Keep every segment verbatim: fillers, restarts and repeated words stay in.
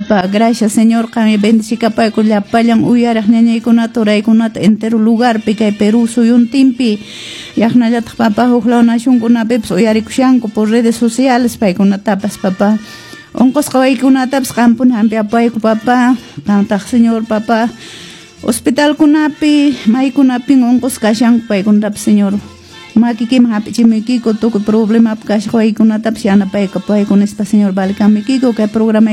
Papá. Gracias, Señor, qanmi bendicikapayku llapallan uyariq ñañaykunata, turaykunata entero lugarpi kay Perú suyuntinpi. Yaqnallataq, papá, huklaw nacionkunapipas uyarikushanku por redes sociales paykunatapas, papá. Unqusqa waykunatapas qampuni hampiyapayku, papá. Qamtaq, Señor, papá. Hospitalkunapi, maykunapin unqusqa kashanku paykunatapas, Señor. Makikiman hap'ichimuykiku tukuy problemapi kashaq waykunatapas yanapaykapuwayku nispa, Señor, valikamuykiku kay programa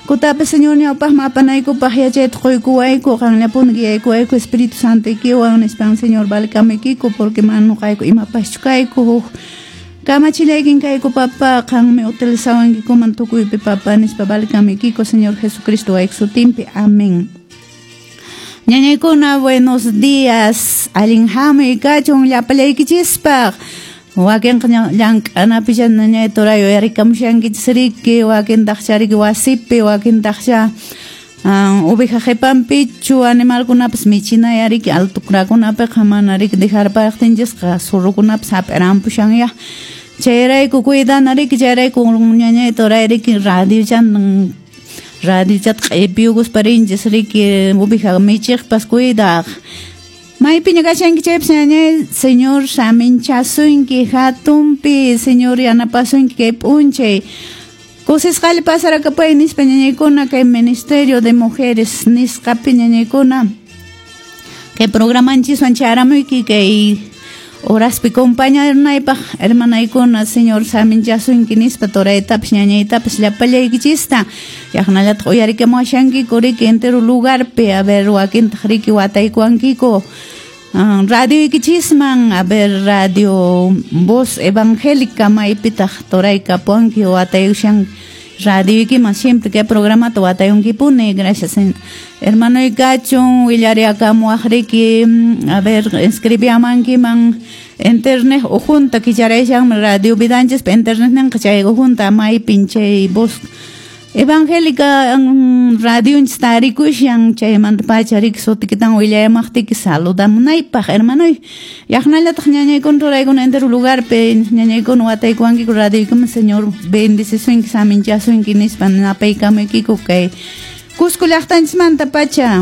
kutapas, Señor, ñawpaqman apanaykupaq yachayta quykuwayku, qanllapuni guiaykuwayku Espíritu Santoykiwan nispan, Señor, valikamuykiku porque mana nuqayku imapaschu kayku huk kamachillaykin kayku, papá, qanmi utilizawankikuman tukuypi, papá, nispa valikamuykiku, Señor Jesucristo wayku sutinpi. Amén. Ñañaykuna, buenos días. Allin hamuy kachun llapallaykichispaq. Wakinqa llank'anapi ñañay turay uyarikamushankichis riki, wakintaqcha riki wasipi, wakintaqcha oveja qhipanpichu animalkunapas michinaya riki altukrakunapiqa mana riki dejarpaqtinchisqa zorrokunapas hap'irampushan ya. Chayrayku cuidana riki, chayrayku ñañay turay riki radiochan radiochata q'ipiyukuspa rinchis riki oveja michiqpas cuidaq. Maypiña kashanki chaypas ñañay, Señor saminchasunki hatunpi, Señor yanapasunki kay p'unchay. Kusisqalla pasarakapay nispa ñañaykuna kay Ministerio de Mujeres nisqapi ñañaykuna. Kay programanchiswan charamuyki kay horaspi compañarnaypaq hermanaykuna, Señor saminchasunki nispa turaytapas ñañaytapas llapallaykichista. Yaqnallataq uyarikamuwashankiku riki entero lugarpi, a ver wakintaq riki wataykuwankiku. Radioykichisman, a ver radio Voz Evangélica maypitaq turaykapuwanki wataykushan radioykiman siempre kay programata watayunkipuni. Gracias, hermano kachun willariakamuwaq riki, a ver escribiamankiman internet ujunta kicharashanmi radio vidanchispa internet ninqa chay ujunta maypin chay Voz Evangélica radionchis tarikushan chaymanta pacha riki sutikitan willayamaqtiki saludamunaypaq hermanoy. Yaqnallataq ñañaykuna turaykuna entero lugarpi ñañaykuna wataykuwankiku radioykiman, Señor bendicisunki saminchasunki nispa napaykamuykiku kay Cusco llaqtanchismanta pacha.